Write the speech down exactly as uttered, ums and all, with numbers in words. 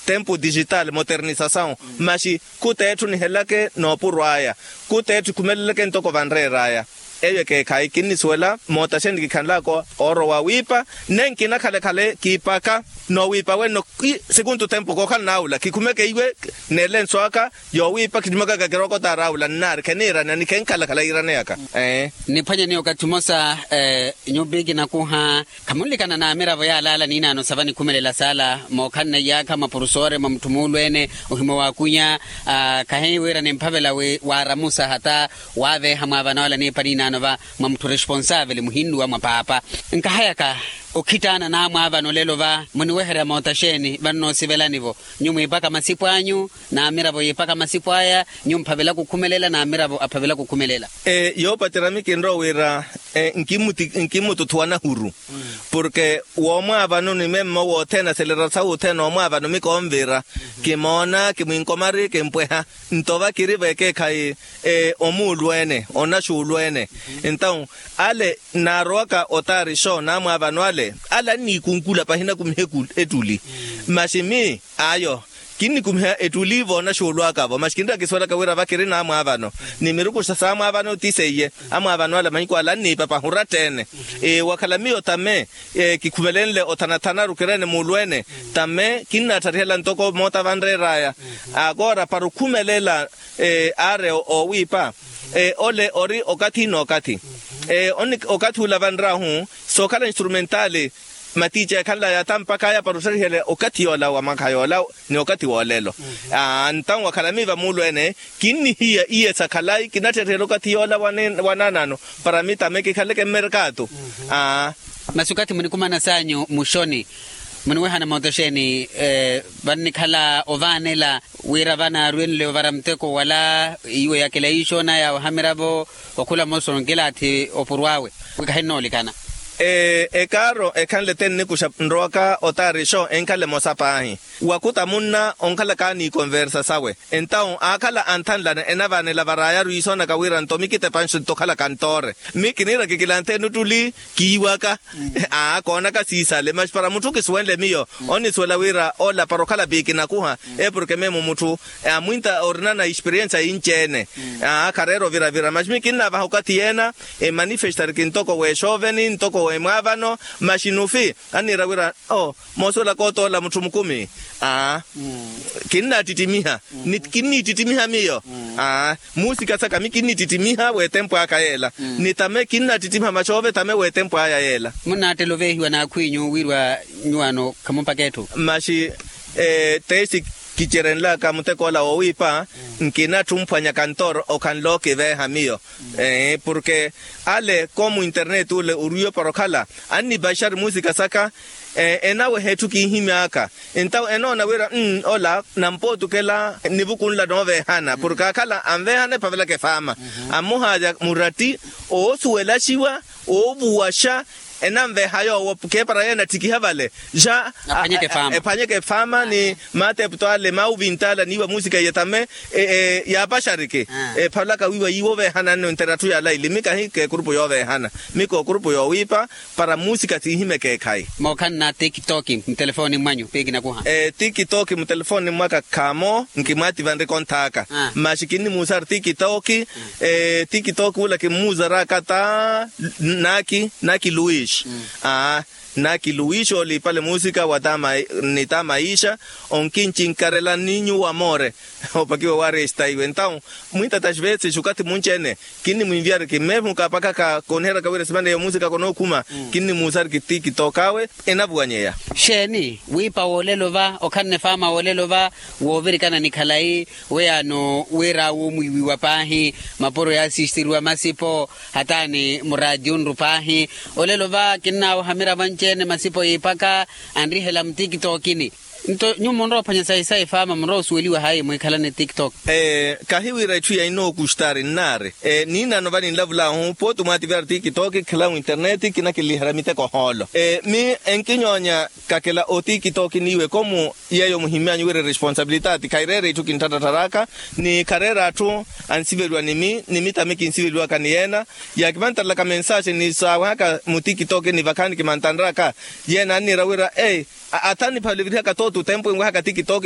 tempu digital moternisasawu. Maxi khuta etthu nihelelake noopurwa aya, khuta etthu ekhumeleleke ntoko vanreer'aya. Eyo ekeekhayi kinnisuwela mootaxeni kikhanlaka oorowa wiipa. Nne nkina khale-khale kiipaka noowiipa wenno. Sekuntu tempu kookhala naawula kikhumeke iwe neelenso aka yoowiipa kitthumakaka kirokotaari aawula nnaari kheniirana ni khenkhala-khala yiiraneyaka. Niphwanye ni okathi mmosa. Nyuupa ekinakuha khamunlikana n'amiravo yaalaala niinaano sa vanikhumelela saala mookhanne iyaakha mwa purusoore mwa mutthu muulweene ohimwa waakwinya. Khahiiwira nimphavela wi waaramusa hata waaveeha mwaavana wala niipa niinaano va mwa mutthu responsavele muhinnuwa mwa paapa. Nkahayaka okhittaana n'amwaavana olelo va muniweherya moota xeeni vannoosivelani-vo? Nyuwo mwiipaka masipu anyu n'amiravo yiipaka masipu aya. Nyuwo mphavelaka okhumelela n'amiravo aphavelaka okhumelela. Yoopacerya mikinrowa wira nkimmututhuwa nahuru porke woomwaavano ni memmo wothene aselera sawu othene oomwaavano mikoonvira kimoona kimwinkomari kimpweha. Nto va kiri vekeekhayi omuulweene onaxuulweene. Entawu ale nnaarowaka otaarixo n'amwaavano ale ale anniikunkula pahi nakumiha ettuli. Maxi mi ayo kinnikumiha ettuli voonaxuulwaka-vo maxi kinraka kisuwelaka wira vakiri n'amwaavano ni mirukuxa s'amwaavano ti seiye. Amwaavano ala mahiku ala anniipa pahi oratta-ene. Wakhala miyo tame kikhumelenle othanathanaru kireene muulweene tame kinnaattharihela ntoko moota vanreer'aya. Akoora para okhumelela aari oowiipa. Ole ori okathi n'okathi okathi ula vanrahu sookhala instrumentaali matiica ekhanlaya ata mpakha aya para ottharihela okathi yoola wa mwakha yoola ni okathi woolelo. Aa ntawu wakhala miiva muulweene kinnihiya iye sa khalayi kinatterihela okathi yoola wa naanaano para mitame kikhaleke mmerkaatu. Aa masi okathi munikumana saanyu muxoni muniwehana moota xeeni? Vannikhala ovaanela wira vanaarwenle ovara muteko wala iwe yakela iixoona yaawe ohamiravo okhula mmosa onkilaathi opurw'awe wi kahinnoolikana. Ekaaro ekhanle te nnikuxa nrowaka otaarixo enkhala emosa paahi wakhuta munna onkhalaka ni ikonversa sawe. Entawu aakhala anthanlana enavaanela varaayaru iisoonaka wira nto mikitepanxo nto okhalaka ntoore mi kiniira kikilanthe nuttuli kiiwaka. Aa koonaka siisale maxi para mutthu kisuwenle miyo onnisuwela wira ola para okhala piikinakuha. Porke memo mutthu amwinta orina na experiensa inci-ene. Aa khareera oviravira maxi mi kinnaavaha okathi yeena emanifestari kintoko w'exooveni ntoko w'emwaavano maxi nufi anniira wira o moosuwelaka otoola mutthu mukumi. Aa kinnaattittimiha ni kinniittittimiha miyo. Aa muusika saka mi kinniittittimiha w'etempo aka yeela ni tame kinnaattittimiha maxoove tame w'etempo aya yeela. Munnaattela oveehiwa n'akhw'inyu wiiriwa nyuwaano khamupaka etthu. Maxi tesi kicerenlaka mutek'ola woowiipa nkinatthi omphwanya kantooro okhanle okiveeha miyo. Porke ale komu internet ole oriwe para okhala annipaxari muusika saka enaweha etthu kinhimy'aka. Entawu enoona wira ola nampootukela nivukunla nooveehana porke aakhala anveehana ephavelaka efaama. Ammuhaarya muratti oosuwelaxiwa oovuwaxa enanveeha yoowo keepara yeene atthikiha vale ja ephwanyeke efaama ni maateepto ale maawuvint'ale aniiwa muusika iye tame yaapaxariki. Ephalaka wiiwa yiiwo oveehana nno entera atthu yaalaili mi kahi k'ekurupu yooveehana mi k'okurupu yoowiipa para muusika siihimekeekhayi. Mookhanna tikitoki mutelefooni mmwanyu piikinakuha. Tikitoki mutelefooni mmwaka khaamo nkimwaativanrika onthaaka maxi kinnimuusari tikitoki. Tikitoki ula kimmuusaraka ta naki naki luis. Aa naki luis oliipale muusika wa ta maisha onkincinkarela ni nyuwo amoore. Opakiwa waari esitaiwe entawu mwintata xivetsexi okathi munci-ene kinnimwinviyariki mmeemuka apakaka kooniheryaka wira esimana eyo muusika konookhuma kinnimuusariki tikitoki awe enavuwanyeya. Xeeni wiipa woolelo va okhanne faama woolelo va woovirikana ni khalayi weyaano wira womwiiwiwa paahi mapuro yaasistiriwa masipo hataani muraatiyunru paahi olelo va kinnaawaha miravo anci-ene masipo yiipaka anrihela mutikitokini. Nto nyuwo munrowa ophwanya sayi sayi faama munrowa osuweliwa hayi mwiikhalane tiktok. Kahi wira itthu ya inookustaari nnaari. Niinaano vaninlavulaahu pooti mwaativyara tiktok khikhala winterneti kinakinliherya miteko hoolo. Mi enkinyoonya kakela otiktok niiwe komu yeeyo muhimmyanyu wira eresponsabilitati khaireera itthu kintthatthattharaka ni khareera atthu ansiveliwa ni mitami kinsiveliwaka ni yeena. Yaakimantarelaka mensaxe ni saawehaka mutiktok ni vakhaani kimantanraka yeena anniira wira ei ata niphaluvirihaka tootu tempu enwehaka tiktok.